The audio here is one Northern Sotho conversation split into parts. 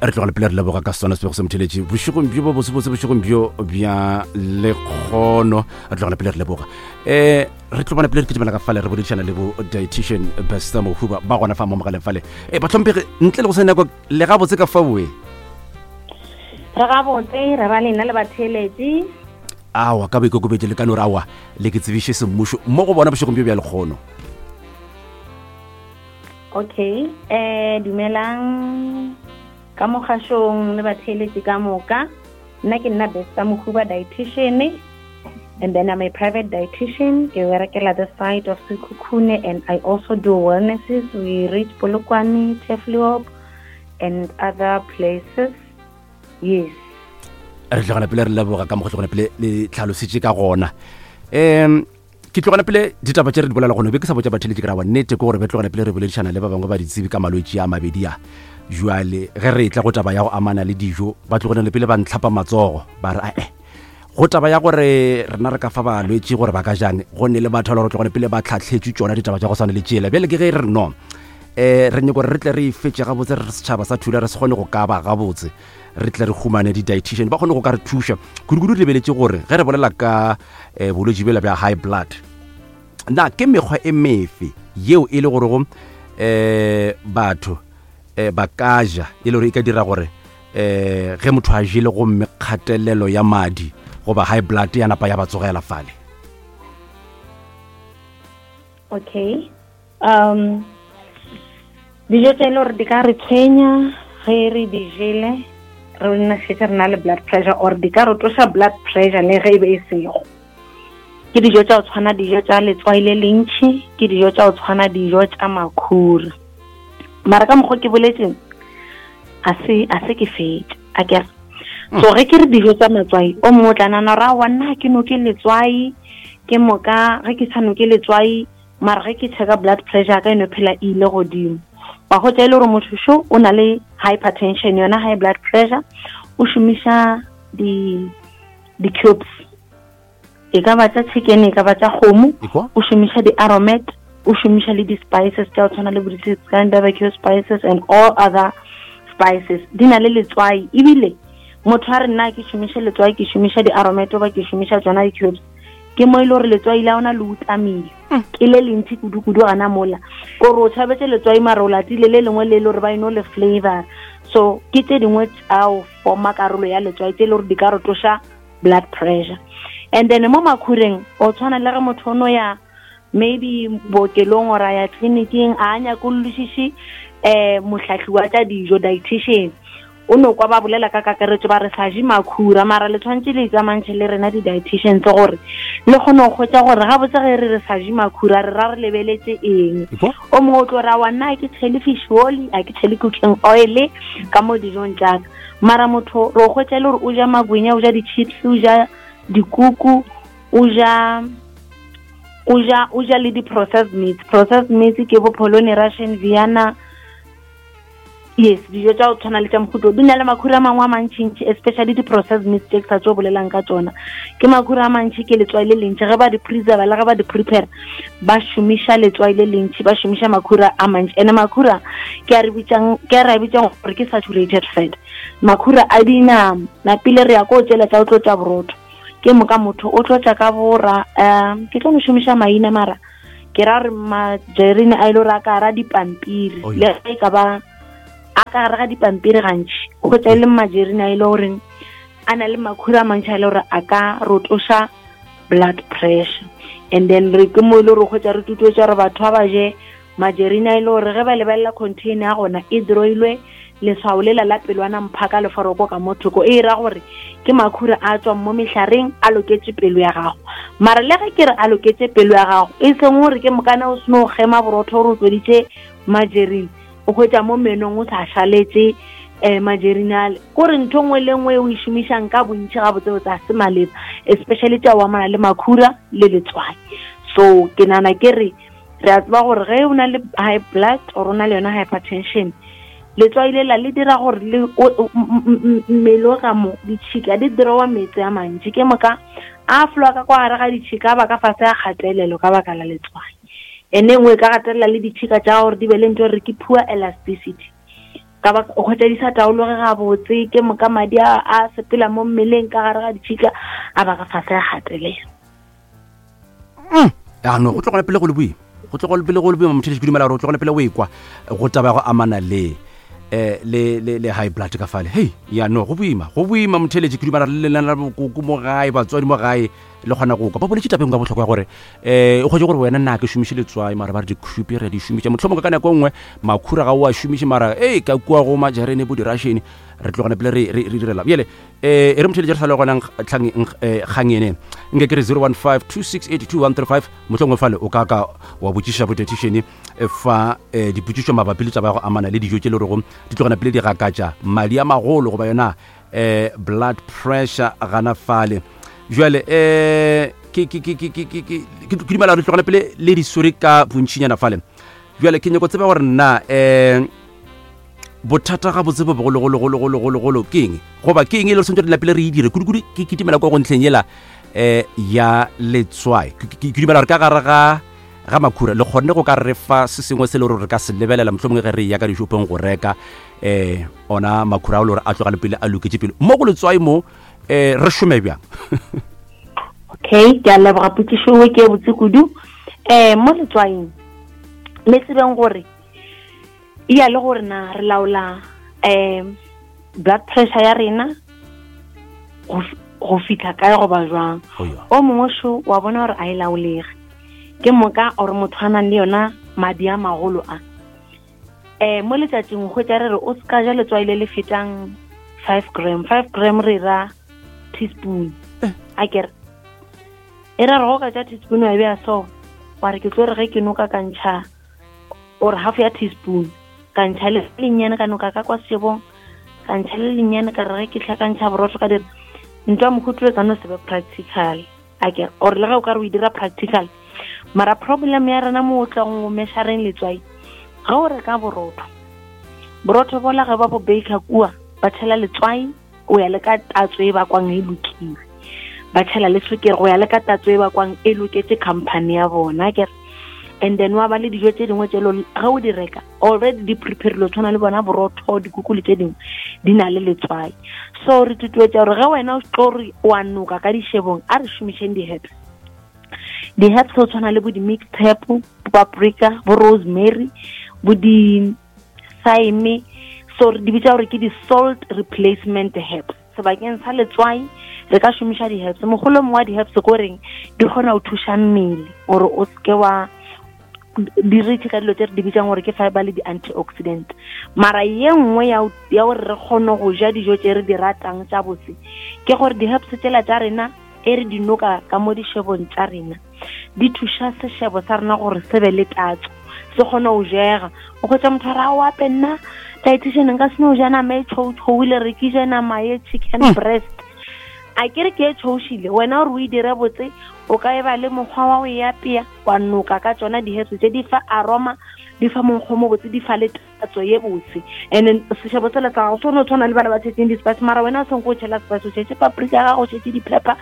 Re tlogela pele re leboga ka sona sebego se motheletše bošegong bjo bo botsebotse, bošegong bjo bja lekgono. Re tlogela pele re leboga. Re tlo bona pele re kitimela ka fale re boledišana le bo dietitian Bester Mohuba ba gona fa mo mogaleng fale. Bahlomphegi, ntle le go se nako le gabotse ka faoe. Re gabotse, re ra lena le batheeletši. Awa, ka boikokobetšo le ka no re awa le ke tsebiše semmušo mo go bona bošegong bjo bja lekgono. Okay, dumelang ka mogašong le batheeletši ka moka. Nna ke nna Bester Mohuba, dietitian, and then I'm a private dietitian. Ke berekela the side of Sekhukhune, and I also do wellnesses. We reach Polokwane, Turfloop and other places. Yes. Re tlogela pele re leboga ka mokgwa tlogela pele le tlhalositše ka gona. Ke tlogela pele ditaba tše re di bolela gone, be ke sa botša batheletši ke ra wa nnete ke gore be tlogela pele re boledišana le ba bangwe ba ditsebi ka malwetši a mabedi a. Jwale ge re tla go taba ya go amana le dijo, ba tlogela pele ba ntlhapa matsogo ba re ae go taba ya gore rena re ka fa balwetši gore ba ka jang, go ne le batho ba le gore tlogela pele ba tlhatlhetšwe tšona ditaba tša go swana le tšela. Bjale ke ge re no re nyako gore re tle re ifetše gabotse, re setšhaba sa Thula re se kgone go ka ba gabotse, re tle re humane di-dietitian ba kgone go ka re thuša kudu-kudu. Re lebeletše gore ge re bolela ka bolwetši bjela bja high blood, na ke mekgwa e mefe yeo e le gorego batho ba ka ja e le gore e ka dira gore ge motho a jele gomme kgatelelo ya madi goba high blood ya napa ya ba tsogela fale? Okay, dijo tse e le gore di ka re tshwenya ge re di jele re nna šetse re na le blood pressure, or di ka re tloša blood pressure le ge e be e sego, ke dijo tša go tshwana dijo tša letswai le lentšhi, ke dijo tša go tshwana dijo tša makhura. Mara ka mokgwa ke boletseng a se ke fetše a kere. So ge ke re dijo tša matswai, o mongwe o tla nana gore aowa nna ke noke letswai, ke moka ge ke sa noke letswai mara ge ke checka blood pressure ka eno phela e ile godimo. Wa hwetša e le gore motho šo o na le hypertension, yona high blood pressure, o šomiša di-cubes, e ka ba tša chicken, e ka ba tša kgomo, o šomiša di-aromat, o šomiša le di-spices tša go tshwana le bo di-Scan barbecue spices and all other spices, di na le letswai. Ebile motho a re nna ke šomiše letswai, ke šomiša di-aromat goba ke šomiša tsona di-cubes, ke mo e le gore letswai la ona le utlamile, ke le lentši kudu-kudu gana mola, kore o tšhabetse letswai mara o latile le lengwe le le gore ba eno le flavor. So ke tše dingwe tša go forma karolo ya letswai tše e le gore di ka re tloša blood pressure. And then mo makhureng o tshwana le ge motho o no ya maybe bookelong or a ya tleliniking, a nyakollošiše mohlahli wa tša dijo, dietitian, o no kwa ba bolela ka kakaretšo ba re sa je makhura, mara le tshwanetse le itsamantšhe le rena di-dietitians gore le kgone go hwetša gore gabotse ge re re sa je makhura re ra re lebeletse eng. O mongwe o tlo ra wa nna ke tshele fish oil, a ke tshele cooking oil ka mo dijong tšaka, mara motho re o hwetša e le gore o ja magwenya, o ja di-chips, o ja dikuku, o ja le di-processed meats. Processed meats ke bo polony, Russian, Vienna. Yes, dijo tša go tshwana le tša mohuto di na le makhura a mangwe a mantšintši, especially di-processed meats tše ke sa tšo bolelang ka tšona. Ke makhura a mantši, ke letswai le lentši. Ge ba di preserva le ge ba di prepare, ba šomiša letswai le lentši, ba šomiša makhura a mantši. Ene makhura ke a re bitsang, ke a re a bitsang gore ke saturated fat. Makhura a dinama, napile re ya ko tšela tša go tlotša borotho. Ke moka motho o tlotša ka bora, ke tlo no šomiša maina mara ke ra re majerine a ile gore a ka gara dipampiri, le ge e ka ba a ka gare ga dipampiri gantši, o hwetša e le majerine a ile goreng a na le makhura a mantši a ile gore a ka rotoša blood pressure. And then re ke mo e le gore hwetša re tutuetša gore batho ba ba je majerine a ile gore ge ba lebelela container ya gona e droilwe leswao lela la pelwana mphaka leforoko ka mo thoko, e ra gore ke makhura a tswang mo mehlareng a loketše pelo ya gago. Mara le ge ke re a loketše pelo ya gago, e seng gore ke mokana o seno kgema borotho gore o tloditše majerine, o hwetša mo menong o sa šaletše majerine ale. Kore ntho nngwe le nngwe o e šomišang ka bontši gabotsebotse ga se maleba, especially tša go amana le makhura le letswai. So ke nagana ke re re a tseba gore ge o na le high blood or o na le yona hypertension, letswai lela le dira gore le mmele o ka mo ditšhika di drawa meetse a mantši, ke moka a flowa ka kwa gare ga ditšhika a ba ka fase a kgatelelo ka baka la letswai. Ene nngwe e ka gatelela le ditšhika tša gore di be le ntho re ke poor elasticity. Ka ba o kgwetsa di sa taologe gabotse, ke moka madi a a sepela mo mmeleng ka gare ga ditšhika a ba ka fase a gatelela. Ano go tlogela pele go le boima, go tlogela pele go le boima motho ke dumela gore o tlogela pele o ekwa go taba ya go amana le eh le le le high blood ka fale. Hey, ya no go boima, go boima motheletši, ke dumela le lena la bokoko mo gae, batswadi mo gae le kgona go kwa ba boletše tabeng ka bohlokwa ya gore um o kgwetse gore wena nna ke šomiše letswai, mara ba re dikhupi re di šomiša, mohlomongwe ka nako e nngwe makhura ga o a šomiše, mara ee ka kua go majarene bo dirashene re tlogane pele re direla bjale. Um e re motheletše re sa le gona kgang ene nke ke re 015 2682135, mohlomongwe fale o ka ka wa botšiša botethišene fa dipotšišo mabapi le taba ya go amana le dijo tše le rego di tlogana pele di gakatša madi a magolo goba yona blood pressure gana fale. Jwale ke dumela gore tlogana pele le di swere ka bontšinyana fale. Jwale ke nyako tseba gore nna bothata ga botse bo bogologologologologolo ke eng, goba ke eng e le gore santse re lapile re e dire kudu-kudu? Ke kitimela kwa go ntlheng yela ya letswai. Ke dumela gore ka gare ga makhura le kgonne go ka re fa se sengwe se le gore re ka se lebelela, mohlomongwe ge re ya ka dishopong go reka ona makhura ao le gore a tloga le pele a loketše pele mo go letswai mo, re šome bjang? Okay, ke a leboga, potšišo e ke e botse kudu. Mo letswaing le tsebeng gore ya le gore na re laola blood pressure ya rena go fitlha kae goba jwang. O mongwe šo wa bona gore a e laolege, ke moka gore motho a nang le yona madi a magolo a mo letšatšing go re re o ska ja letswai le le fetang 5 gram. 5 gram re ra teaspoon, a kere e ra re go ka ja teaspoon wa e beya so, wa re ke tlo re ge ke noka ka ntšha or half ya teaspoon, ka ntšha le lennyane ka noka ka kwa sešebong, ka ntšha le lennyane ka re ge ke tlhakantšha borotho ka dira ntwa mohuto, e ka no se be practical, a ke or le ge o ka re o e dira practical. Mara problem ya rena mo o tlang o measureng letswai, ge o reka borotho, borotho bola ge ba bo baker kua ba tšhela letswai o ya le ka tatso e bakwang e lokile, ba tšhela le sukiri go ya le ka tatso e bakwang e loketse company ya bona, ke. And then wa ba le dijo tše dingwe tše ge o di reka already di preparile, tshwana le bona borotho, dikuku le tše dingwe di na le letswai. So re tutuetša gore ge wena o tlo re wa noka ka dišebong, a re šomišeng di-herbs. Di-herbs go tshwana le bo di-mixed herb, bo paprika, bo rosemary, bo di-thyme, so re di bitša gore ke di-salt replacement herbs. Sebakeng sa letswai re ka šomiša di-herbs. Mogolo mongwe wa di-herbs ko reng di kgona go thuša mmele gore o seke wa di rich ka dilo tse re di bitsang gore ke fiber le di-antioxidant. Mara ye nngwe ya gore re kgone go ja dijo tse re di ratang tša botse ke gore di-herbs tsela tša rena e re di noka ka mo dišebong tša rena di thuša sešebo sa rena gore se be le tatso, se kgone go jega. O kgwetsa motho a re a oape nna dietitian nka se no ja nama e tšhou-tšhou, ile re ke je nama ye chicken breast, a ke re ke e tšhoušile. Wena gore o e dire botse, o ka e ba le mokgwa wa go e apea wa noka ka tsona di-herbs tse di fa aroma, di fa monkgo mo botse, di fa le tatso ye botse. And then sešebo sela sa gago se no tshwana le bana ba tšhetseng di-spice, mara wena o senko o tšhela spice, o tšhetse paprika ya gago, o tšhetse di-pepper,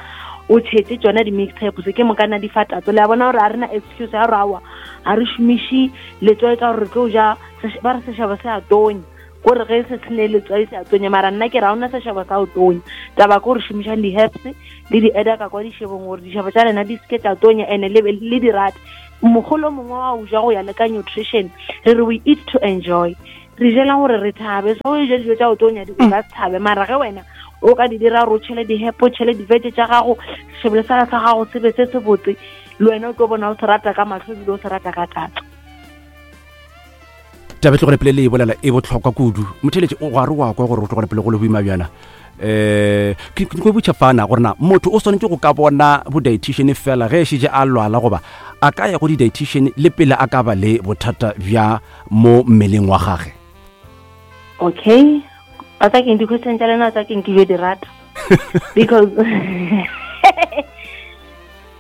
o tšhetse tsona di-mixed herbs, ke mokana di fa tatso. Le a bona gore a rena excuse ya gore aowa ga re šomiše letswai ka gore re tlo ja, ba re sešebo se a tonya, kore ge se sene letswai se a tonya. Mara nna ke ra ona sešebo sa go tonya, taba ke gore šomišang di-herbs le di-eda ka kwa dišebong gore dišebo tša lena di seke tša tonya, and le di rate. Mogolo mongwe wa o ja go ya le ka nutrition, re re we eat to enjoy, re jela gore re thabe. So o ja dijo tša go tonya di ka se thabe, mara ge wena o ka di dira gore o tšhele di-herb, o tšhele divete tša gago, sešebele sala sa gago se be se se botse, le wena o tlo bona o se rata ka mahlo ebile o se rata ka tatso. Taba e tlogele pele le e bolela e botlhokwa kudu motheletše, o gare wa kwa gore o tlogele pele go le boima bjana. Ke ko botša fana gore na motho o swanetše go ka bona bo-dietitian fela ge e šetše a lwala, goba a ka ya go di-dietitian le pele a ka ba le bothata bja mo mmeleng wa gage? Okay, ba tsa keng di-question tša lena, tsa keng ke jo di rata because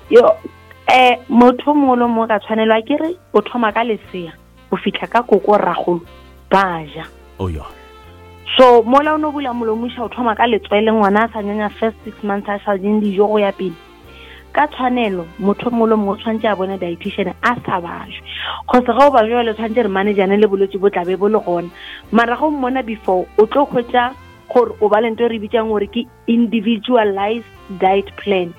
yo motho mongwe le mongwe ka tshwanelwa ke re o thoma ka lesea go fitlha ka koko rragolo ba ja. Oh, yeah. So mola o no bula molomoša o thoma ka letswele, ngwana a sa nyanya first 6 months a sa jeng dijo go ya pele. Ka tshwanelo motho mongwe le mongwe o tshwanetse a bone dietitian a sa bajwe, cause ga o bajwa le tshwanetse re manageane le bolwetse bo tlabe bo le gona. Mara ga o mmona before, o tlo hwetša gore o ba le ntho e re bitsang gore ke individualized diet plan.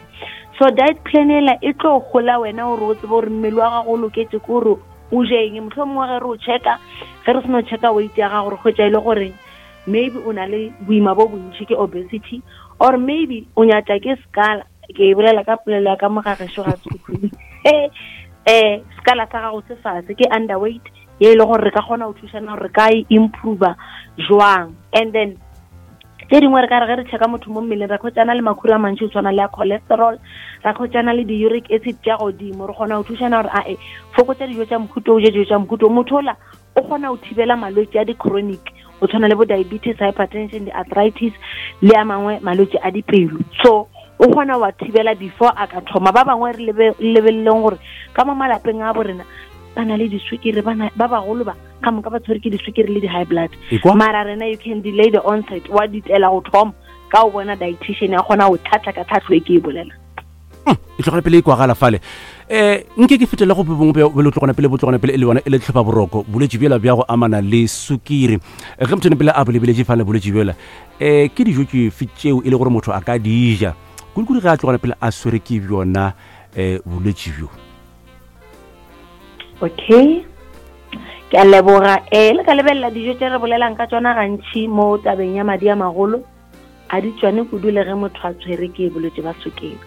So diet plan ela e tlo gola wena gore o tsebe gore mmele wa gago o loketse ke gore o je eng. Mohlomongwe ge re o checka, ge re seno checka weight ya gago, re hwetša e le gore maybe o na le boima bo bontši, ke obesity, or maybe o nyatša ke scala. Ke e bolela ka polelo ya ka mo ga gešo ga Sekhukhune. Scala sa gago se fase, ke underweight, ye e le gore re ka kgona go thušana gore re ka e improve jwang. And then tse dingwe re ka re ge re checka motho mo mmeleng, ra khwetšana le makhura a mantši go tshwana le ya cholesterol, ra khwetšana le di-uric acid tša godimo. Re kgona go thušana gore ae fokotsa dijo tša mohuto, o je dijo tša mohuto. Motho ola o kgona go thibela malwetse a di-chronic go tshwana le bo diabetes, hypertension, di-arthritis le a mangwe malwetse a dipelo. So o kgona wa thibela before a ka thoma. Ba bangwe re lebeleleng gore ka mo malapeng a bo rena ba na le diswikiri, ba bagolo ba ka moka ba tshwere ke diswikiri le di-high blood. Mara rena you can delay the onset, wa ditela go thoma ka o bona dietitian ya kgona go tlhatlha ka tlhatlho e ke e bolela. E tlogela pele e kwagala fale. Nke ke fetele go bongwe bjo tlogona pele bo tlogona pele e le yona e le tlhopa boroko, bolwetši bjola bja go amana le sukiri. Ge motho pele a bolebeletše fale bolwetši bjola, ke dijo tšefe tšeo e le gore motho a ka di ja kudu-kudu ge a tlogela pele a swere ke bjona bolwetši bjo? Okay, ke a leboga. Le ka lebelela dijo tše re bolelang ka tšona gantši mo tabeng ya madi a magolo, a di tšwane kudu le ge motho a tshwere ke bolwetse ba sukiri.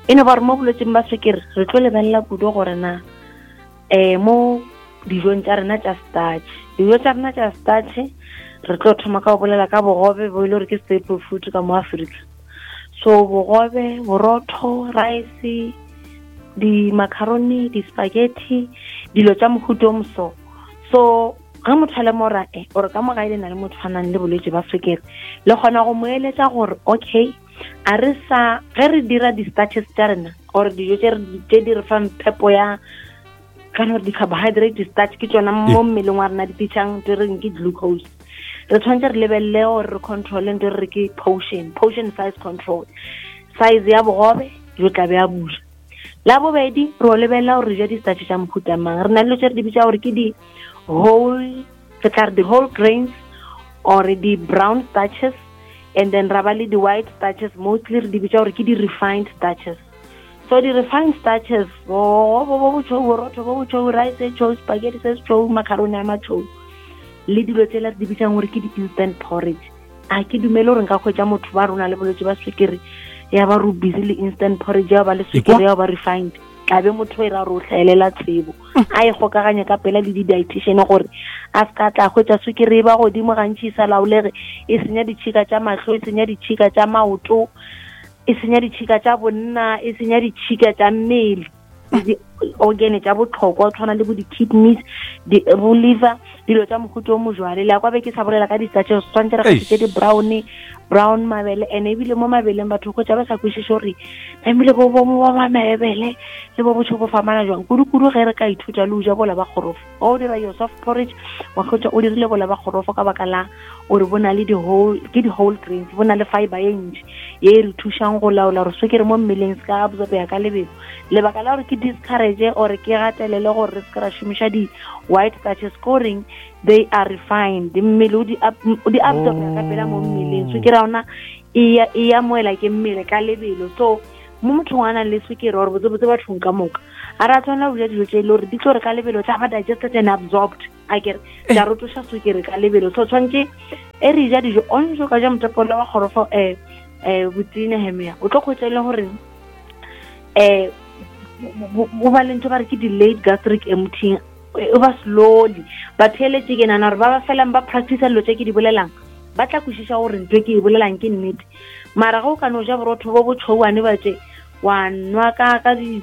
E no ba gore mo bolwetseng ba sukiri re tlo lebelela kudu gore na mo dijong tša rena tša starch, dijo tša rena tša starch re tlo thoma ka go bolela ka bogobe bo e le gore ke staple food ka mo Afrika. So bogobe, borotho, rice, di-macaroni, di-spaghetti, dilo tša mohuta o moso. So ge motho a le mo ra ore ka mo gae le na le motho a nang le bolwetse ba sukiri, le kgona go mo eletša gore okay, a re sa ge re dira di-starches tša rena or dijo tše di re fang phepo ya kana gore di-carbohydrate starch ke tšona mo mmeleng wa rena di tišang ntho e reng ke glucose. Re tshwanetse re lebelele gore re controle ntho e re ke portion size control, size ya bogobe jo tla be a buša. La bobedi re o lebelela gore re ja di-starch tša mohuta mang. Re na le dilo tše re di bitša gore ke di-whole, re tla re di-whole grains or di-brown starches, and then ra ba le di-white starches, mostly re di bitša gore ke di-refined starches. So di-refined starches, bo bo tšhweu, borotho bo botšhweu, rice e tšhweu, spaghetti se tšhweu, macaroni a matšhweu, le dilo tsela re di bitsang gore ke di-instant porridge. A ke dumele gore nka hwetša motho ba rona le bolwetse ba swekere ya ba re busy le instant porridge ya ba le swekere ya ba refined, tlabe motho e ra re o hlaelela tsebo, a e kgokaganye ka pela le di-dietitian gore a se ka tla hwetša swekere e ba godimo gantši e sa laolege, e senya ditšhika tša mahlo, e senya ditšhika tša maoto, e senya ditšhika tša bonna, e senya ditšhika tša mmele, di-organ tša botlhokwa tshwana le bo di-kidneys, bo liver, dilo tša mohuta o mojwale. Le ya kwa be ke sa bolela ka di-starches, tshwanetse re kgethetse di-brown, brown mabele, and ebile mo mabeleng batho kgotsa ba sa kwešiše gore tlamehile bo bo ba mabele le bo botšho bo famana jwang. Kudu-kudu ge re ka ithuta le o ja bola ba kgorofo, o dira your soft porridge, wa kgotsa o dirile bola ba kgorofo ka baka la gore bo na le di-whole, ke di-whole grains, bo na le fiber ye ntši ye e re thušang go laola gore swekere mo mmeleng se ka absorbeya ka lebelo. Lebaka la gore ke discourage or ke gatelele gore re se ke ra šomiša di-white starches ke goreng they are refined, mmele o di absorbeya ka pela mo mmeleng, swekere ya ona e amoela ke mmele ka lebelo. So mo mothong a nang le swekere or botsebotse bathong ka moka, a re a tshwanela go ja dijo tse e le gore di tlo re ka lebelo tsa ba digested and absorbed, a kere tsa rotoša swekere ka lebelo. So tshwanetse e re ja dijo o ntse o ka ja motapolo wa kgorofo, botsene hemea, o tlo kgwetsa e le gore o ba le ntho ba re ke delayed gastric emptying, o ba slowly. Ba theeletše ke nana gore ba ba felang ba practice dilo tse ke di bolelang, ba tla kwešiša gore ntho e ke e bolelang ke nnete. Mara ge o ka no ja borotho bo bo tšhouane ba tše wa nwa ka di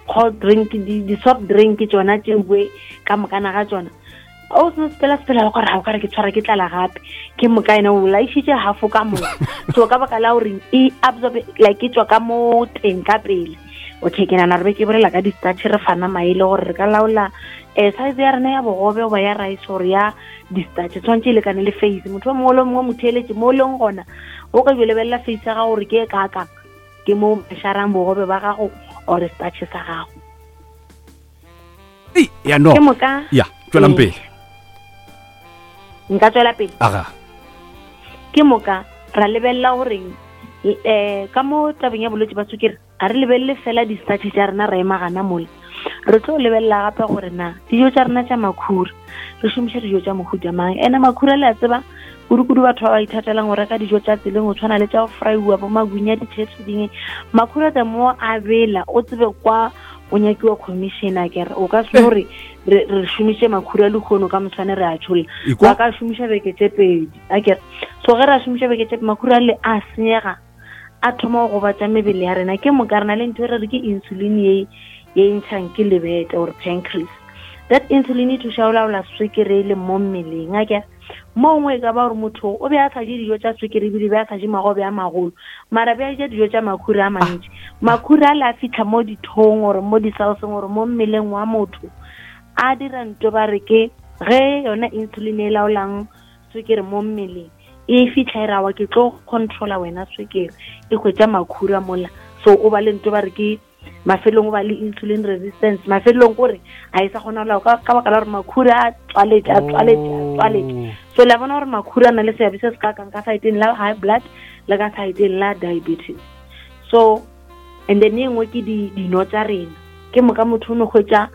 cold drink, di soft drink tšona tšewe ka mokana ga tšona, o seno sepela sepela le gore ga o kare ke tshwara ke tlala gape, ke moka ena o laišitše half ka moka. So ka baka la gore e absorb like e tswa ka mo teng ka pele. Okay, ke nana re be ke bolela ka di-starch, re fana maele gore re ka laola size ya rena ya bogobe goba ya rice gore ya di-starch tshwanetse e lekane le face. Motho o mongwe le mongwe mo theeletše mo o leng gona, o ka jo lebelela face ya gago gore ke e kakang. Ke mo o mešarang bogobe ba gago or starch sa gago. Ei, ya no. Ke moka. Ya, tswelang pele. Nka tswela pele. Aga. Ke moka ra lebelela gore eh ka mo tabeng ya bolwetse ba sukiri a re lebelele fela di-starch tša rena ra ema gana mola re tlo lebelela gape gore na dijo tša rena tša makhura re šomiša dijo tša mohuta mang ene makhura le a tseba kudu-kudu batho ba ba ithatelang go reka dijo tša tseleng go tshwana le tša go fraiwa bo magunya di-chips dingwe makhura the more a bela o tsebe kwa o nyakiwa commission a kere o ka se gore re re šomiše makhura lehono ka moswane re a tšholla ba ka šomiša beke tše pedi a kere so ge re a šomiša beke tše makhura le a senyega a thoma go gobatša mebele ya rena ke moka re na le ntho e re re ke insulin ye ye e ntšhang ke lebete or pancreas that insulin e thuša go laola swekere e leng mo mmeleng a kere Mo gongwe e ka ba gore motho o be a sa je dijo tša swekere ebile be a sa je magobe a magolo, mara be a ja dijo tša makhura a mantši. Makhura a le a fitlha mo dithong gore mo disaoseng gore mo mmeleng wa motho a dira nto ba re ke ge yona insulin e laolang swekere mo mmeleng e fitlha e rawa ke tlo controla wena swekere e hwetša makhura mola so o ba le nto ba re ke mafelong o ba le insulin resistance mafelong kore a e sa kgona go lao ka baka la gore makhura a tswaletše a tswaletše a tswaletše oh. so le a bona gore makhura a na le seabe se se ka kang ka saeteng la high blood le ka saeteng la diabetes so and then e nngwe ke dino tša rena ke moka motho o no hwetša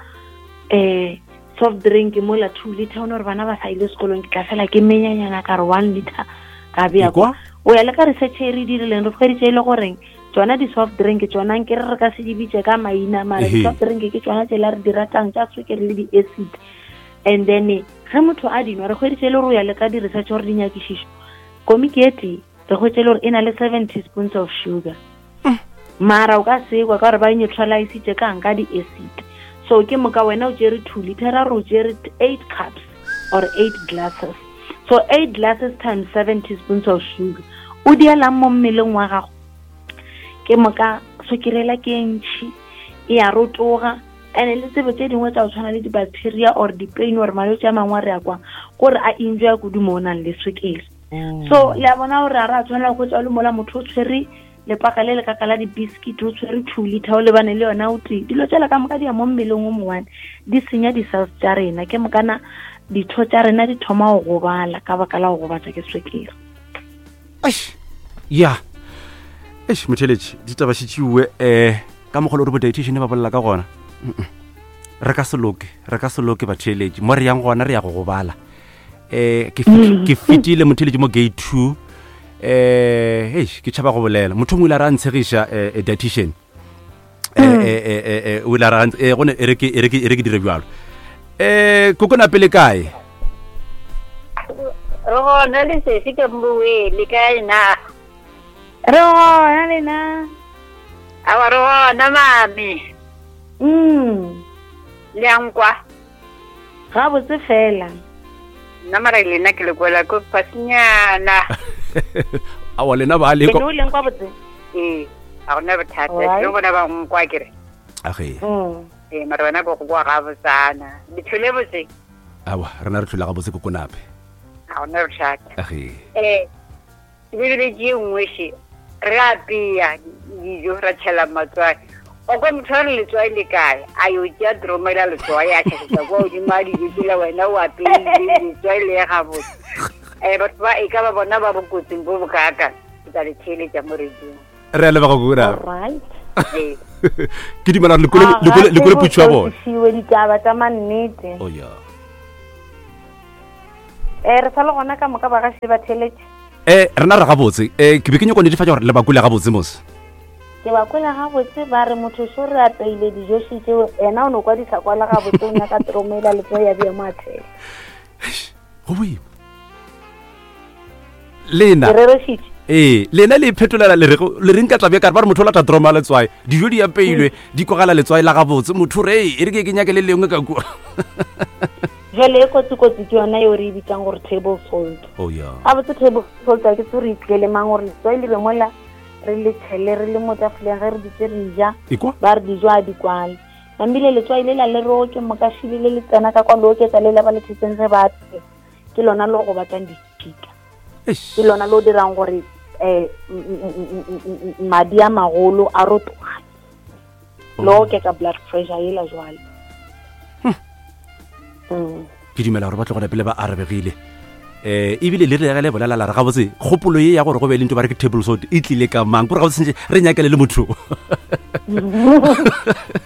um soft drink mola two liter o ne gore bana ba sa ile sekolong ke tla fela ke menyanyana ka re one liter ka bea kwa o ya le ka research e re dirileng re hweditše e le goreng tsona di-soft drink tsona nke re re ka se di bitse ka maina mara di-soft drink ke tsona tsela re di ratang tša swekere le di-acid and then ge motho a dinwa re hweditše e le gore o ya le ka di-research gore dinyakišišo komiki e tee re hwetše le gore e na le seven teaspoons of sugar mm. mara o ka sekwa ka gore ba neutralisitše kang ka di-acid so ke moka wena o tšere two liter ra re o tšere eight cups or eight glasses so eight glasses times seven teaspoons of sugar o dielang mo mmeleng wa gago ke moka sokirela ke e ntšhi e a rotoga and le tsebo tse dingwe tsa go tshwana le di-bacteria or di-pain or malwetse a mangwe a re ya kwang kore a enjoya kudu mo o nang le swekere mm. so le a bona gore a re a tshwanela go tswa le mola motho o tshwere lepaka le lekaka la di-biscuit o tshwere two liter o lebane le yona o tee dilo tsela ka moka di ya mo mmeleng o mongwane di senya di-cells tša rena ke mokana ditho tša rena di thoma go gobala ka baka la go gobatša ke swekere eish ya eish motheletši ditaba šitšiwe um eh, ka mokgwa le gore bo-dietitian ba bolela ka gona re ka se loke re ka se loke batheeletši mo re yang gona re ya go gobala um ke fetile motheletši mo gate two um eish ke tšhaba go bolela motho mongwe ile a re a ntshegiša um dietitian eh, mm. eh, eh, eh, eh, o ile a re eh, gone e re ke e re ke e re ke dire bjalo eh kokona pele kae re gona le sesi ka mbowe le kae na re gona lena awa re gona mame mm le a nkwa gabotse fela nna mara lena ke le kwela ko fasenyana awa lena ba le o leng kwa botse ee ga gona bothata ke bona ba nkwa kere age mm. ee mara wena ko go kwa ga botsana le tlhole botse awa rena re tlhola ga botse kokonape ga gona bothata age ee Ke lebeletše ye nngwe še, re apea dijo ra tšhela matswai. O kwa motho a re letswai le kae? A yo tšea droma la letswai a tšhašetša kwa godimo a dijo tsela wena o apeile letswai le ye gabotse. Um batho ba e ka ba bona ba bokotsing bo bokaaka ke tla le theeletša mo radiong. Re a leboga Kokona. Alright. Ee. Ke dumela gore le kwele- le kwele putšo ya bona. Fiwe ditaba tša mannete. Oh yeah. Eh re sa le gona ka moka ba gaši le batheeletši. Eh rena re gabotse. Eh ke be ke nyako netefatša gore le ba kwele gabotse mos. Ke ba kwele gabotse ba re motho šo re apeile dijo še tšeo ena o no kwa di sa kwala gabotse o nyaka tromela le ya bja mo athela. Go boima. Lena. Ke rerešitše. Ee, lena le iphetolela le re le reng ka tlabe ka re ba re motho o lata droma letswai dijo di apeilwe di kwagala letswai la gabotse motho re e re ke ke nyake le lengwe ka kua jale e kotsi-kotsi ke yona eo re e bitsang gore table salt oh, yeah. gabotse table salt a ke tse re itlele mang gore letswai le be mola re le tšhele re le mo tafoleng ge re ditse re ja ba re dijo a di kwale namile letswai le la le roke mokašile le le tsena ka kwa le oketsa le la ba le tshetseng ge ba ke lona le go batlang ditšhika ke lona le o dirang gore um madi a magolo a rotoga le oh. oketsa blood pressure ela jwale hmm. mm. ke dumela gore ba tlogela pele ba arabegile eh ebile le re le bolela la re gabotse kgopolo ye ya gore go be le ntho ba re ke table salt e tlile ka mang gore gabotse sentse re nyakele le motho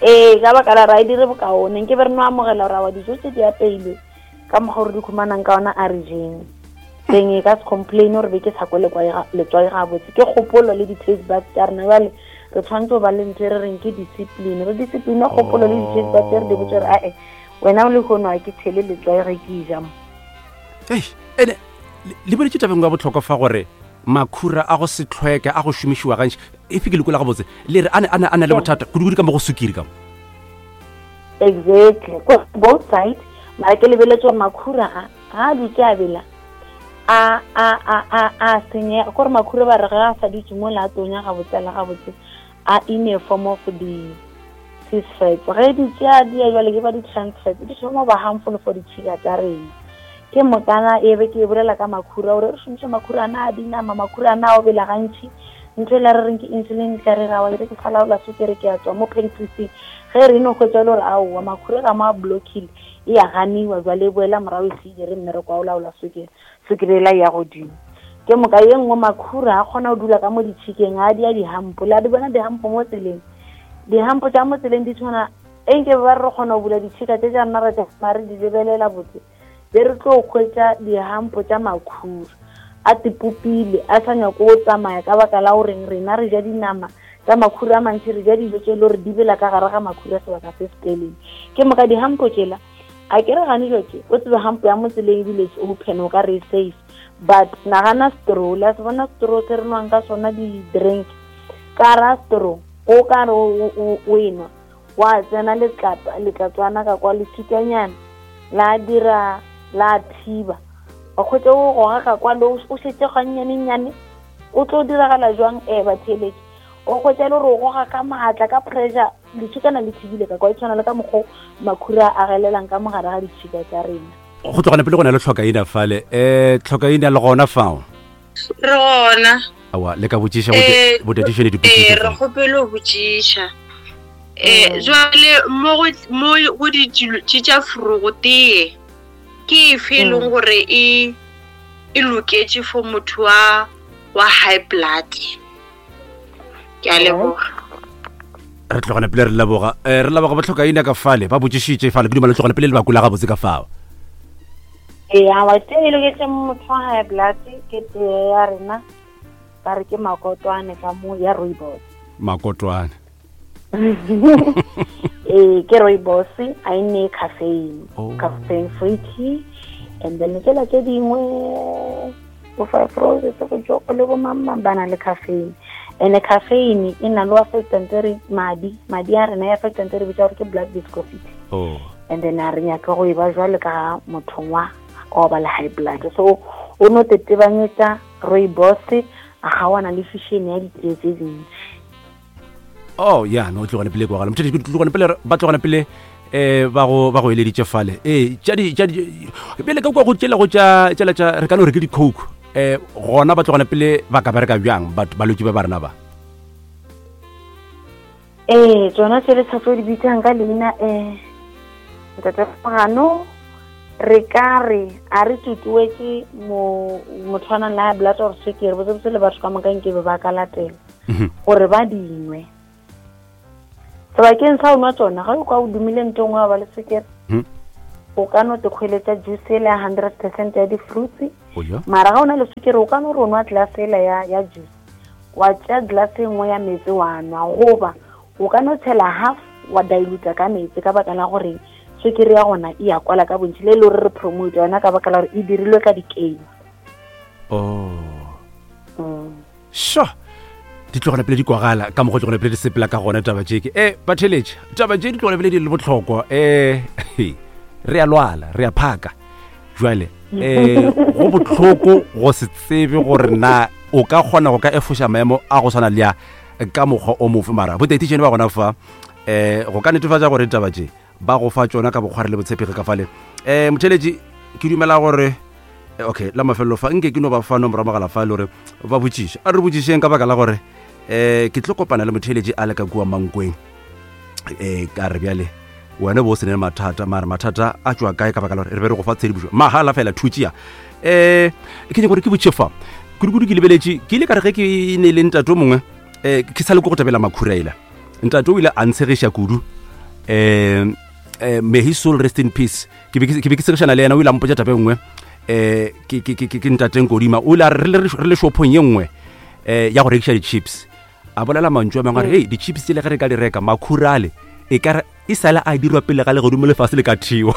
ee ka baka la ra e dire bokaone nke be re no amogela gore awa dijo tse di apeilwe ka mokgwa gore di khumanang ka ona a re jeng teng e ka se complain gore be ke sa kwe letswai gabotse ke kgopolo le di-taste buds tša rena jale re tshwanetse go ba le ntho e re reng ke discipline re discipline kgopolo le di-taste buds re di botse gore ae wena o le kgono a ke tshele letswai ge ke ja mo ei ene le boletse tabeng ya botlhokwa fa gore makhura a go se tlhweke a go šomišiwa gantši efe ke lekola gabotse le re a ne le bothata kudu-kudu ka mo go sukiri ka mo Exactly. Ko both side mara ke lebeletse gore makhura a ga a dutse a bela a a a a a senyega kore makhura ba re ga a sa dutse mo la tonya gabotse la gabotse a in a form of the cis fats ge di tšea di ya jwale ke ba di-trans fats di thoma ba harmful for ditšhika tša rena ke mokana e be ke e bolela ka makhura gore re šomiše makhura ana a dinama makhura ana a o bela gantši ntho e la re reng ke insulin tla re rawa e re ke sa laola sukere ke a tswa mo pancreaseng ge re no hwetša e le gore aowa makhura ka mo a blockile e a ganiwa jwale e boela morago e se dire mmereko wa o laola sukere sukere e la ya godimo ke moka ye nngwe makhura a kgona go dula ka mo ditšhikeng a dia dihampo le a di bona dihampo mo tseleng dihampo tša mo tseleng di tshwana e nke ba re kgona go bula ditšhika tše tša rena ra tšama re di lebelela botse be re tlo hwetša dihampo tša makhura a tipopile a sa nyako go tsamaya ka baka la goreng rena re ja dinama tša makhura a mantši re ja dijo tše e le gore di bela ka gare ga makhura sebaka se se telele ke moka dihampo tšela a ke re gane jo tše o tsebe hampo ya mo tseleng ebile it's open o ka re e safe but nagana straw le a se bona straw se re nwang ka sona di-drink ka ra straw o ka re o enwa wa tsena letlapa letlatswana ka kwa lefsikanyana la dira la thiba wa kgwetsa o goga ka kwa le o šetse gannyanenyane o tlo diragala jwang um batheeletše o kgwetsa e le gore o goga ka maatla ka pressure letšhikana le thibile ka kwa e tshwana le ka mokgwa makhura a agelelang ka mogare ga ditšhika tša rena go tlogana pele go na le tlhokaina fale um tlhokaina le gona fao re gona awa le ka botšiša eh, botadišo le dipotšišo eh, re kgopele go botšiša um jwale mo go ditilo tše tša forogo tee ke efe e leng mm. gore e e loketše for motho wa wa high blood ke a leboga re tlogana pele re leboga um re leboga botlhokaina ka fale ba botšišitše fale ke dumela tlogana pele le bakula gabotse ka fao ee awa tee e loketse motho wa high blood ke tee ya rena ba re ke makotwane ka mo ya rooibos makotwane ee ke rooibos a e nne caffeine oh. caffeine free tea and then tsela tse dingwe bo five roses go joko le bo mamang ba na le caffeine and caffeine e na le affectang tse re madi madi a rena e affectang tse re bitsa gore ke blood viscosity oh. and then a re nyake go e ba jwale ka mothong wa wa ba le high blood so o no tetebanyetsa rooibos a ga wana le fishene ya ditee tse dintsi oh ya no tlogane pele kwagala motho tlogane pele ba tlogane pele eh ba go ba go eleditše fale eh tša di tša di pele ka kwa go tšela go tša tšela tša re ka no re ke di coke eh gona ba tlogane pele ba ka bereka bjang batho balwetši ba ba rena ba ee tsona tse le sa tlo di bitsang ka leina um ntate Mogano re ka re a re tutuetše motho a nang le high blood or sukiri botsebotse le batho ka moka nkebe ba ka latela mhm. gore ba dinwe sebakeng sa o nwa tsona ga o kwa o dumile nto nngwe wa ba le sukiri mhm. o ka no tekgweletša juice ele ya 100 percent ya di-fruits mara ga o na le sukiri o ka no re o nwa glass ele ya juice wa tšea glass e nngwe ya meetse wa nwa goba o ka no tshela half wa diluta ka meetse ka baka la gore swekere ya gona e ya kwala ka bontši le e le gore re promote yona ka baka la gore e dirilwe ka dikeima oh mm. sure di tlogela pele di kwagala ka mokgwa tlogela pele di sepela ka gona taba tše ke e batheletše taba tše di tlogela pele di le botlhokwa um re a lwala re a phaka jwale um go botlhoko go se tsebe gore na o ka kgona go ka efoša maemo a go swana le ya ka mokgwa o mofe mara botetitšene ba gona fa um go ka netefatša gore ditaba tše ba go fa tsona ka bokgware le botshepegi ka fale um motheletši ke dumela gore Eh, okay la mafelelo fa nke ke no ba fa nomoro mogala fa e le gore ba botšiše a re botšišeng ka baka la gore um ke tlo kopana le motheeletši a le ka kua mankweng um ka re bjale wena bo o se ne mathata mare mathata a tšwa kae ka baka la gore re be re go fa tshedimošo mahala fela thutšea um ke nyaka gore ke botše fa kudukudu ke lebeletše ke ile ka re ge ke ne le ntate o mongwe um ke sa le ko go tabela makhuraela ntate o ile a ntshegiša kudu um may his soul rest in peace ke be ke segišana le yena o ile a mpotša tabe nngwe um ke ntateng kodima o ile a re re le shopong ye nngwe um ya go rekiša di-chips a bolela mantšu a mangwe a re hei di-chips tsele ge re ka di reka makhurale e ka e sale a dirwa pele ga legodimo lefase le ka thiwa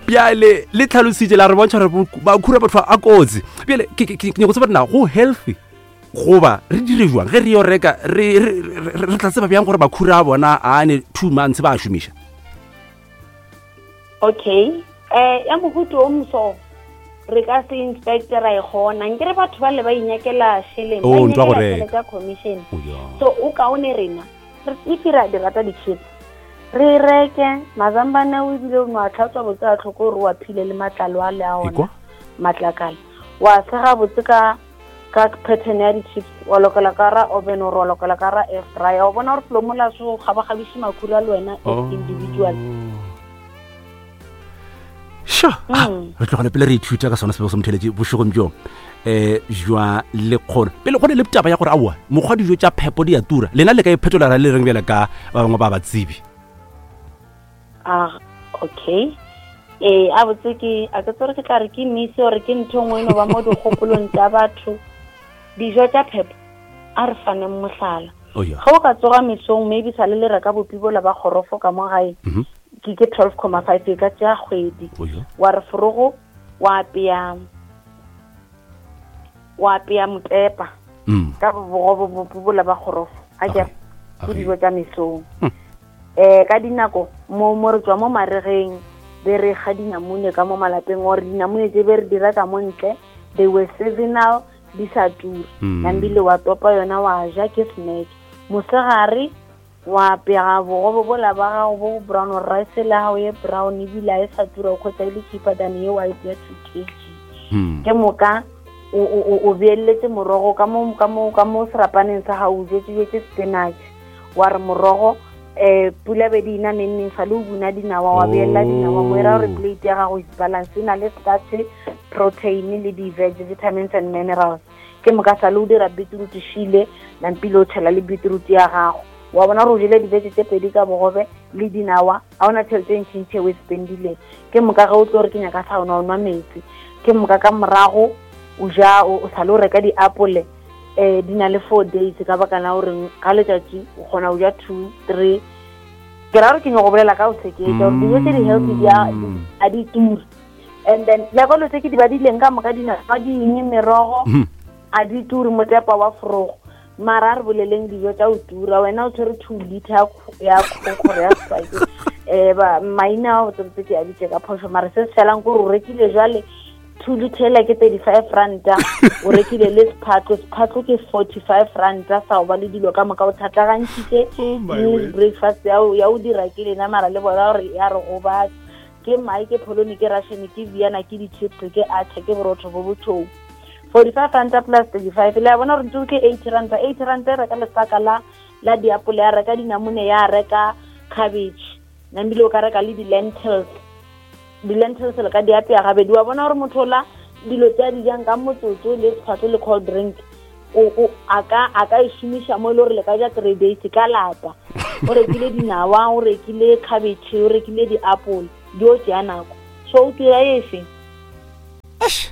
bjale le tlhalositše la re bontšha gore makhura batho a kotsi bjale ke nyako tseba na go healthy goba re dire jwang ge re yo reka re tla tseba bjang gore makhura a bona a ne two months ba a šomiša okay eh ya mohuto o moso re ka se inspecte ra e kgona nkere batho ba le ba inyakela sheleng ba oh, inyakela tšhelete ya commission oh, so o kaone rena if re a di rata di-chips re reke mazambane o ebile o no a tlhatswa botse a tlhoko gore wa phile le matlalo a le a ona matlakala wa sega botse ka ka pattern ya di-chips wa lokela ka ra oven or wa lokela ka ra air fryer wa bona gore selo mola so gabagabiše makhura le wena as oh. individual sure ah, mm. re tlogele pele re ithuta ka sone sebego se motheletše bošegong bjo um jwa lekgono pele go ne le taba ya gore aowa mokgwa dijo tša phepo di a tura lena le ka iphetola ra le reng bjale ka ba bangwe ba batsebi ah okay ee a botse ke a ke tsore ke tla re ke mise gore ke ntho nngwe e no ba mo dikgopolong tša batho dijo tša phepo a re faneng mohlala oh, yeah. ge o ka tsoga mesong maybe sa le le reka bopibola ba kgorofo ka mo gae mm -hmm. ke ke 12 comma 5 e ka tšea kgwedi oh, yeah. wa re forogo wa apea wa apea motepa mm. ka bogobo bopibola ba kgorofo a ke ke dijo tša mesong hmm. Eh, ka dinako mo mo re tswa mo maregeng be re ga dinamune ka mo malapeng or dinamune tse be re di reka mo ntle they were seasonal di sa ture mm. nambile wa topa yona wa ja ke snack mosegare wa pega bogobe bola ba gago bo brown rice la gago ye brown ebile a e sa tura o kgotsa e le cheaper than ye white ya two kg hmm. ke moka o beeletse morogo ka mo ka mo ka mo serapaneng sa gago o jetse jetse spinach wa re morogo um pula be di ina neng neng sa le o buna dinawa wa beelela dinawa mo e ra gore oh. plate ya gago is balance e na le starch protein le di-veg vitamins and minerals ke moka sa le o dira beetroot šile nampile o tšhela le beetroot ya gago wa bona gore o jele dibeke tse pedi ka bogobe le dinawa ga ona tšhelete e ntšhintšhe o e spendileng ke moka ge o tlo re ke nyaka sa ona o nwa metsi ke moka ka morago o ja o sa le o reka diapole um di na le four days ka baka la goreng ka letšatši o kgona go ja two three ke ra gore ke nyako bolela ka o seketsa gore dijo tse di-healthy di a di ture and then le kolo tse ke di badileng ka moka dinawa di eng merogo hmm. a di ture motepa wa forogo mara a re boleleng dijo tsa o tura wena o tshwere two liter ya kgokgoro ya spike um maina a botsebotse ke a bitse ka phoso mara se se felang kore o rekile jale two liter ke 35 ranta o rekile le sephatlo sephatlo ke 45 ranta sa go ba le dilo ka moka o tlhatlagantšhitše oh news breakfast ya o dira ke lena mara le bona gore ya re gobatsa ke mae ke pholone ke russian ke viana ke di-chips ke atšha ke borotho bo botšhou 45 ranta plus 35 le a bona gore ntse ke 80 ranta 80 ranta e reka lesaka la la diapole ya reka dinamune ya reka cabbage nambile o ka reka le di-lentils di-lentils le ka di apea gabedi wa bona gore motho ola dilo tse a di jang ka motsotso le tshwatlo le cold drink o a ka a ka e šomiša mo e le gore le ka ja three days ka lapa o rekile dinawa o rekile cabbage o rekile di-apple di o tšea nako so o dira efe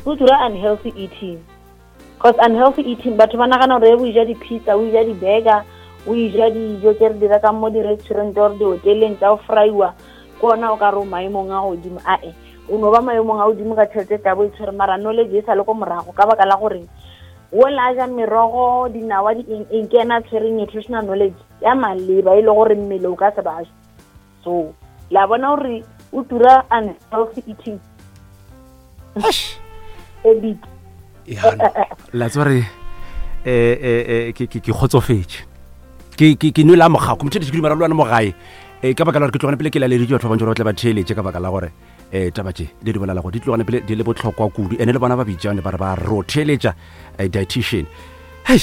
o dira unhealthy eating Cause unhealthy eating batho ba nagana gore o ja di-pizza o ja di-burger o ja dijo tse re di rekang mo di-restaurant or di-hoteleng tsa go fraiwa ke ona o ka re o maemong a godimo ae o no ba maemong a godimo ka tšhelete tla bo e tshwere mara knowledge e sa le ko morago ka baka la gore o la ja merogo dinawa di eng eng ke ena a tshwereng nutritional knowledge ya maleba e le gore mmele o ka se baje so la bona gore o tura unhealthy eating habit la tswa re eh, eh, eh, ke ke kgotsofetše ke ke ke nwele a mogako motho ke dumela le wena mo gae eh ka baka la gore ke tlogane pele ke laleditše batho ba bantši gore ba tle ba theeletše ka baka la gore um taba tše le di bolelago di tlogane pele di le bohlokwa kudu ene le bona ba bitšane ba re ba rotheletša eh, dietitian hei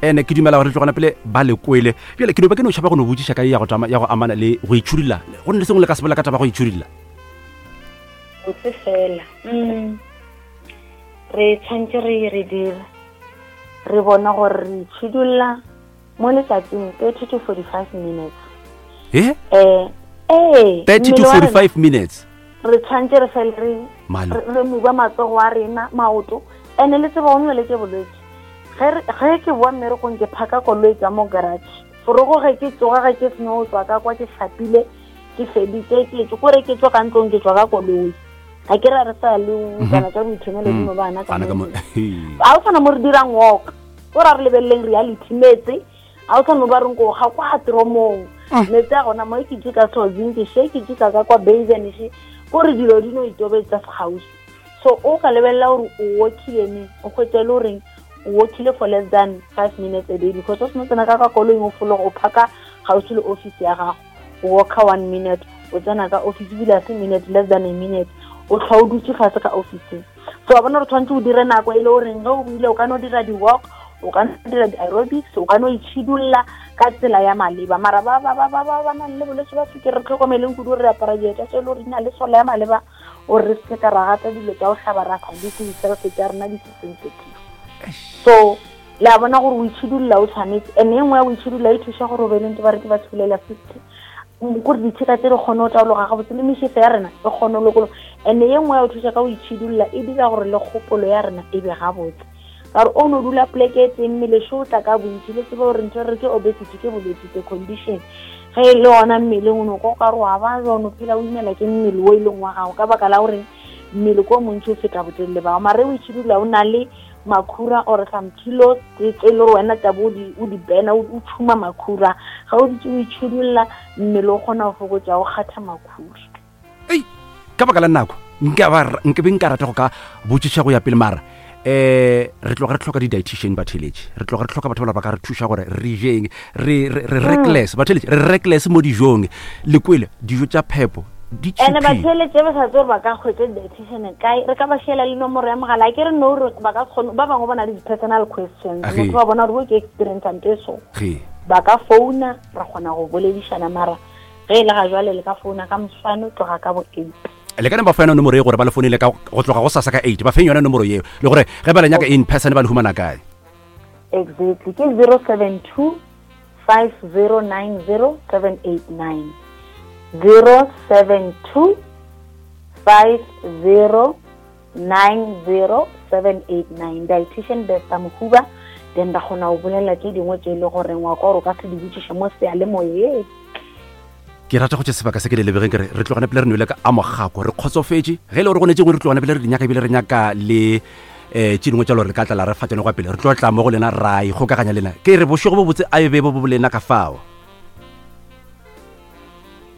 ene ke dumela gore tlogana pele ba le kwele bjale ke no ba ke no tšhaba go no botšiša ka ya go tama ya go amana le go itšhudilla go ne le sengwe le ka se bolela ka taba go itšhudilla botse fela mm. re tshwanetse re re dire re bona gore re itšhidulla mo letsatsing 30 to 45 minutes eh eh eh 30 to 45 minutes re tshwanetse re fele re re muba matsogo a rena maoto ene le tseba o nwe ke bolwetse ge ke boa mmerekong ke phaka koloi ka mo garage forogo ge ke tsoga ge ke seno tswa ka kwa ke hlapile ke feditse ke tswe kore ke tswa ka ntlong ke tswa ka koloi ga ke ra re sa le kana tsa boithomelo di mo bana ka ga o tshwana mo re dirang walk o ra re lebeleleng reality metse ga o tshwane ba reng ko ga kwa tromong mm. metsi a gona mo e ke jika sozing ke she ke jika ka kwa basen she ko re dilo di no itobetsa segausi so o ka lebelela gore o walkile ne o kgwetse le goreng o walkile for less than five minutes a day because o seno tsena ka ka koloing o fologa o phaka gausi le office ya gago o walka one minute o tsena ka office ebile a se minute less than a minute o tlhwa o dutse fatshe ka officeng so wa bona gore tshwanetse o dire nako e le goreng ge o buile o ka no dira di-walk o ka no dira di-aerobics o ka no itšhidulla ka tsela ya maleba mara ba ba ba ba ba ba nang le bolwetse ba sukiri re tlhokomeleng kudu re apara dieta tse e le gore di na le sola ya maleba gore re seke ka ra gata dilo tsa go hlaba ra sa di di-self tsa rena di se sensitive so le a bona gore o itšhidulla o tshwanetse and e nngwe ya go itšhidulla e thuša gore o be le ntse ba re ke ba tsholela fifty kore ditšhika tse di kgone go taologa gabotse le mešefe ya rena e kgone go lokologa and ye nngwe ya go thuša ka go itšhidulla e dira gore le kgopolo ya rena e be gabotse ka gore o no dula poleke e teng mmele šo o tla ka bontši le tsebe gore ntho re ke obesity ke bolwetse the condition ge e le gona mmeleng o no kwa o ka re wa ba o no phela o imela ke mmele o e leng wa gago ka baka la gore mmele ko montši o feta botelele bao mare o itšhidulla o na le makhura or some kilos tse e le gore wena tabo o di bena o tšhuma makhura ga o dutse o itšhidulla mmele o kgona go fokotša o kgatha makhura ei ka baka la nako nke be nka rata go ka botšiša go ya pele mara eh re tloga re tlhoka di-dietitian batheletše re tloga re tlhoka batho ba ba ka re thuša gore re jeng re mm. reckless batheletše re reckless mo dijong le kwele dijo tša phepo di ene batheletše ba sa tse gore ba ka kgwetsa di-dietitian kae re ka ba šiela le nomoro ya mogala a ke re no gore ba ka kgone ba bangwe ba na le di-personal questions motho ba bona gore bo ke experience nto e so ba ka founa ra kgona go boledišana mara ge e le ga jwale le ka founa ka moswane tloga ka bo eight le ka ne ba fa yona nomoro ye gore ba le founele ka go tloga go sasa ka eight ba feng yona nomoro yeo le gore ge ba le nyaka in person ba le humana kae exactly ke 072 5090 789 072 50 90789 dietitian Besta Mohuba then ra kgona go bolela tše dingwe tše e le goreng wa kwa gore o ka se di botšiše mo seyalemoyeng ke rata go tše sebaka se ke le lebegeng ke re re tlogane pele re nwele ka a mogako re kgotsofetše ge e le gore go ne tše dingwe re tlogane pele re di nyaka ebile re nyaka le um tše dingwe tša lore re ka tla la re fa tsone kwa pele re tlo tla mo go lena ra ikgokaganya lena ke re bošego bo botse a e be bo bo lena ka fao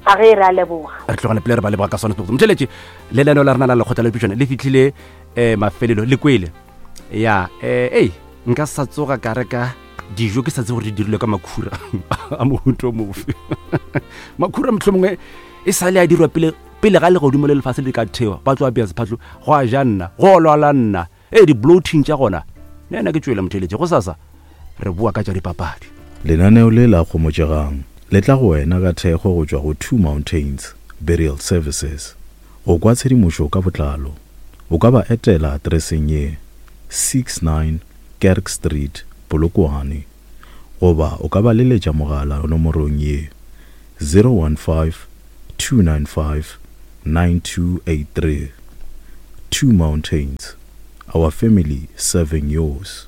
A ge re a leboga. Re tlogane pele re ba leboga ka sone sebotse. Motheletše, le leno la rena la lekgotla la dipitšwana le fitlhile um mafelelo le kwele. Ya, eh, ei, nka sa tsoga ka reka dijo ke sa tse gore di dirilwe ka makhura a mohuto mofe. Makhura mohlomongwe e sa le a dirwa pele pele ga legodimo le lefase le ka thewa ba tlo apea sephatlo go a ja nna go lwala nna ee di-bloating tša gona ne ena ke tšwele motheletše go sasa re boa ka tša dipapadi Lenaneo le la Kgomotšegang le tla go wena ka thekgo go tšwa go Two Mountains Burial Services. Go kwa tshedimošo ka botlalo, o ka ba etela atreseng ye, 69 Kerk Street, Polokwane, goba o ka ba leletša mogala nomorong ye, 015 295 9283. Two Mountains, our family serving yours.